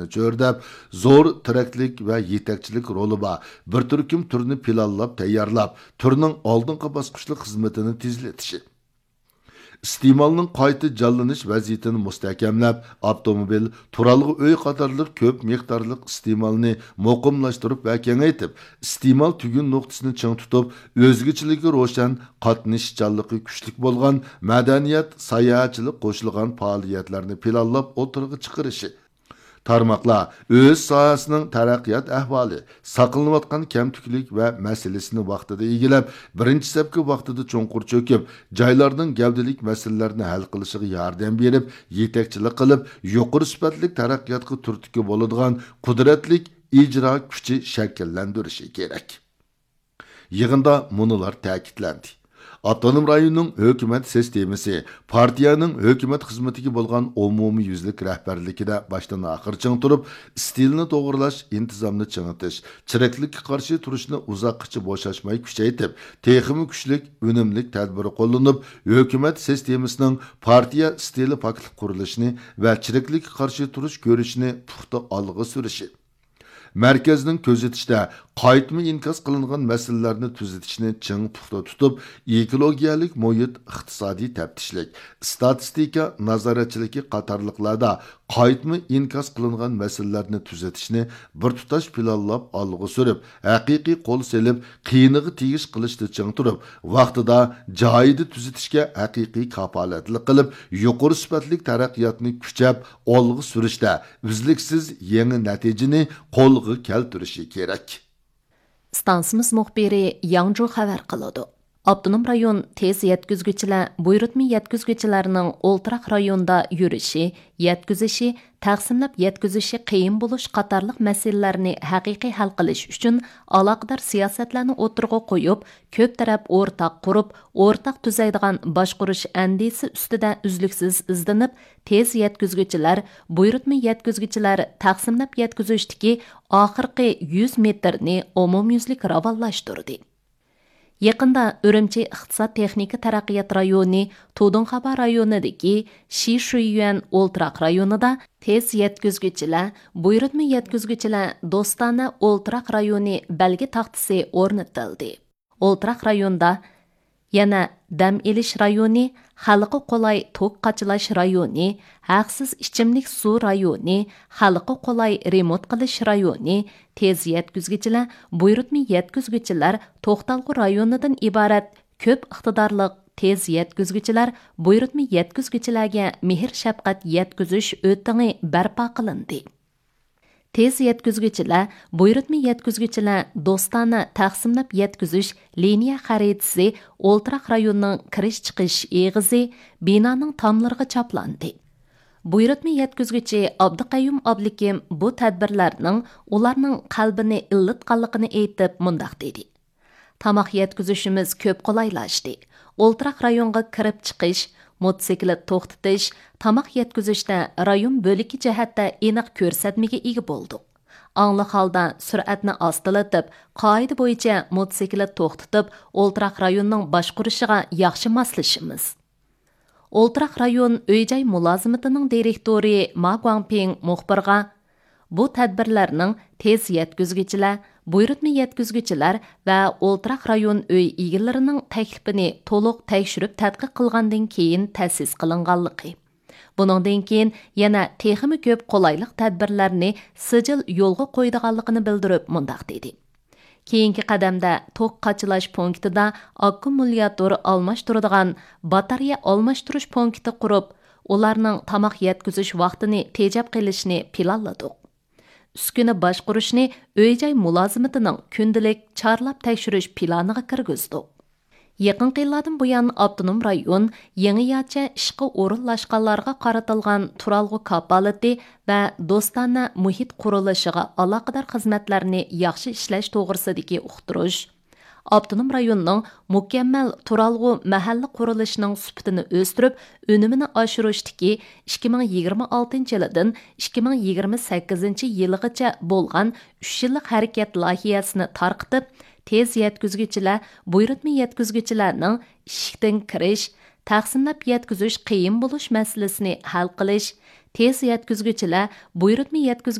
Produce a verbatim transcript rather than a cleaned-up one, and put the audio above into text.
چۆرىدەپ، زور تىرەكلىك ۋە يېتەكچىلىك رولى بار بىر تۈركۈم تۈرنى پىلانلاپ تەييارلاپ، تۈرنىڭ ئالدىنقى باسقۇچلۇق خىزمىتىنى تېزلىتىشى. ئىستېمالنىڭ قايتا جانلىنىش ۋەزىيىتىنى مۇستەھكەملەپ، ئاپتوموبىل، تۇرالغۇ ئۆي قاتارلىق كۆپ مىقدارلىق ئىستېمالنى مۇقىملاشتۇرۇپ ۋە كېڭەيتىپ، ئىستېمال تۈگۈن نۇقتىسىنى چىڭ تۇتۇپ، ئۆزگىچىلىكى روشەن، قاتنىشىشچانلىقى كۈچلۈك بولغان مەدەنىيەت، ساياھەتچىلىك قوشۇلغان پائالىيەتلەرنى پىلانلاپ ئوتتۇرىغا چىقىرىشى. تارماقلار ئۆز ساھەسىنىڭ تەرەققىيات ئەھۋالى، ساقلىنىۋاتقان كەمتۈكلۈك ۋە مەسىلىسىنى ۋاقتىدا ئىگىلەپ، بىرىنچى سەپكە ۋاقتىدا چوڭقۇر چۆكۈپ، جايلارنىڭ گەۋدىلىك مەسىلىلەرنى ھەل قىلىشىغا ياردەم بېرىپ، يېتەكچىلىك قىلىپ، يۇقىرى سۈپەتلىك تەرەققىياتقا تۈرتكە بولىدىغان قۇدرەتلىك ئىجرا كۈچى شەكىللەندۈرۈشى كېرەك. يىغىندا مۇنۇلار تەكىتلەندى. ئاپتونوم رايوننىڭ ھۆكۈمەت سىستېمىسى پارتىيەنىڭ ھۆكۈمەت خىزمىتىگە بولغان ئومۇميۈزلۈك رەھبەرلىكىدە باشتىن ئاخىر چىڭ تۇرۇپ، ئىستىلنى توغرىلاش، ئىنتىزامنى چىڭىتىش، چىرىكلىككە قارشى تۇرۇشنى ئۇزاققىچە بوشاشماي كۈچەيتىپ، تېخىمۇ كۈچلۈك، ئۈنۈملۈك تەدبىر قوللىنىپ، ھۆكۈمەت سىستېمىسىنىڭ پارتىيە ئىستىلى پاكلىق قۇرۇلۇشىنى ۋە چىرىكلىككە قارشى تۇرۇش كۈرىشىنى پۇختا ئالغا سۈرۈشى. مەركەزنىڭ كۆزىتىشىدە، قايتما ئىنكاس قىلىنغان مەسىلىلەرنى تۈزىتىشنى چىڭ پۇختا تۇتۇپ، ئېكولوگىيەلىك مۇھىت، ئىقتىسادىي تەپتىشلىك، ئىستاتىستىكا نازارەتچىلىكى قاتارلىقلاردا قايتما ئىنكاس قىلىنغان مەسىلىلەرنى تۈزىتىشنى بىر تۇتاش پىلانلاپ ئالغا سۈرۈپ، ھەقىقىي قول سېلىپ، قىيىنىغا تېگىش قىلىشتا چىڭ تۇرۇپ، ۋاقتىدا، جايىدا تۈزىتىشكە ھەقىقىي كاپالەتلىك قىلىپ، يۇقىرى سۈپەتلىك تەرەققىياتنى كۈچەپ ئالغا سۈرۈشتە ئۈزلۈكسىز يېڭى نەتىجىنى قولغا كەلتۈرۈشى كېرەك. ئىستانسىمىز مۇخبىرى ياڭجۇ خەۋەر قىلىدۇ. ئاپتونوم رايون تېز يەتكۈزگۈچىلەر بۇيرۇتما يەتكۈزگۈچىلەرنىڭ ئولتۇراق رايوندا يۈرۈشى، يەتكۈزۈشى، تەقسىملەپ يەتكۈزۈشى قىيىن بولۇش قاتارلىق مەسىلىلەرنى ھەقىقىي ھەل قىلىش ئۈچۈن ئالاقىدار سىياسەتلەرنى ئوتتۇرىغا قويۇپ، كۆپ تەرەپ ئورتاق قۇرۇپ، ئورتاق تۈزەيدىغان باشقۇرۇش ئەندىزىسى ئۈستىدە ئۈزلۈكسىز ئىزدىنىپ، تېز يەتكۈزگۈچىلەر، بۇيرۇتما يەتكۈزگۈچىلەر تەقسىملەپ يەتكۈزۈشتىكى ئاخىرقى يۈز مېتىرنى ئومۇميۈزلۈك راۋانلاشتۇردى. يېقىندا ئۈرۈمچى ئىقتىساد تېخنىكا تەرەققىيات رايونى تۇدۇڭخابا رايونىدىكى شىشۈيۈەن ئولتۇراق رايونىدا تېز يەتكۈزگۈچىلەر، بۇيرۇتما يەتكۈزگۈچىلەر دوستانە ئولتۇراق رايونى بەلگە تاختىسى ئورنىتىلدى. ئولتۇراق رايوندا يەنە دەم ئېلىش رايونى، خەلققە قولاي توك قاچىلاش رايونى، ھەقسىز ئىچىملىك سۇ رايونى، خەلققە قولاي رېمونت قىلىش رايونى، تېز يەتكۈزگۈچىلەر، بۇيرۇتما يەتكۈزگۈچىلەر توختالغۇ رايونىدىن ئىبارەت كۆپ ئىقتىدارلىق تېز يەتكۈزگۈچىلەر، بۇيرۇتما يەتكۈزگۈچىلەرگە مېھىر شەپقەت يەتكۈزۈش ئۆتىڭى بەرپا قىلىندى. تېز يەتكۈزگۈچىلەر، بۇيرۇتما يەتكۈزگۈچىلەر دوستانە تەقسىملەپ يەتكۈزۈش لىنىيە خەرىتىسى ئولتۇراق رايوننىڭ كىرىش چىقىش ئېغىزى، بىنانىڭ تاملىرىغا چاپلاندى. بۇيرۇتما يەتكۈزگۈچى ئابدۇقەييۇم ئابلىكىم بۇ تەدبىرلەرنىڭ ئۇلارنىڭ قەلبىنى ئىللىتقانلىقىنى ئېيتىپ مۇنداق دېدى. تاماق يەتكۈزۈشىمىز كۆپ قولايلاشتى. ئولتۇراق رايونغا كىرىپ چىقىش، موتوسىكلىت توختىتىش، تاماق يەتكۈزۈشتە رايون بۆلىكى جەھەتتە ئېنىق كۆرسەتمىگە ئىگە بولدۇق. ئاڭلىق ھالدا سۈرئەتنى ئاستىلىتىپ، قائىدە بويىچە موتوسىكلىت توختىتىپ، ئولتۇراق رايوننىڭ باشقۇرۇشىغا ياخشى ماسلىشىمىز. ئولتۇراق رايون ئۆي-جاي مۇلازىمىتىنىڭ دىرېكتورى ما گۇاڭپىڭ مۇخبىرغا، بۇ تەدبىرلەرنىڭ تېز يەتكۈزگۈچىلەر، بۇيرۇتما يەتكۈزگۈچىلەر ۋە ئولتۇراق رايون ئۆي ئىگىلىرىنىڭ تەكلىپىنى تولۇق تەكشۈرۈپ تەتقىق قىلغاندىن كېيىن تەسىس قىلىنغانلىقى، بۇنىڭدىن كېيىن يەنە تېخىمۇ كۆپ قولايلىق تەدبىرلەرنى سىجىل يولغا قويىدىغانلىقىنى بىلدۈرۈپ مۇنداق دېدى. كېيىنكى قەدەمدە توك قاچىلاش پونكىتىدا ئاككۇمۇلياتور ئالماشتۇرىدىغان باتارېيە ئالماشتۇرۇش پونكىتى قۇرۇپ، ئۇلارنىڭ تاماق يەتكۈزۈش ۋاقتىنى تېجەپ قېلىشنى پىلانلىدۇق. ئۈسكۈنە باشقۇرۇشنى ئۆي-جاي مۇلازىمىتىنىڭ كۈندىلىك چارلاپ تەكشۈرۈش پىلانىغا كىرگۈزدۇق. يېقىنقى يىللاردىن بۇيان، ئاپتونوم رايون يېڭىچە ئىشقا ئورۇنلاشقانلارغا قارىتىلغان تۇرالغۇ كاپالىتى ۋە دوستانە مۇھىت قۇرۇلۇشىغا ئالاقىدار خىزمەتلەرنى ياخشى ئىشلەش توغرىسىدىكى ئۇقتۇرۇش، ئاپتونوم رايوننىڭ مۇكەممەل تۇرالغۇ مەھەللە قۇرۇلۇشىنىڭ سۈپىتىنى ئۆستۈرۈپ، ئۈنۈمىنى ئاشۇرۇشتىكى ئىككى مىڭ يىگىرمە ئالتىنچى يىلىدىن ئىككى مىڭ يىگىرمە سەككىزىنچى يىلىغىچە بولغان ئۈچ يىللىق ھەرىكەت لايىھەسىنى تارقىتىپ، تېز يەتكۈزگۈچىلەر، بۇيرۇتما يەتكۈزگۈچىلەرنىڭ ئىشىكتىن كىرىش، تەقسىملەپ يەتكۈزۈش قىيىن بولۇش مەسىلىسىنى ھەل قىلىش، تېز يەتكۈزگۈچىلەر، بۇيرۇتما يەتكۈزگۈچى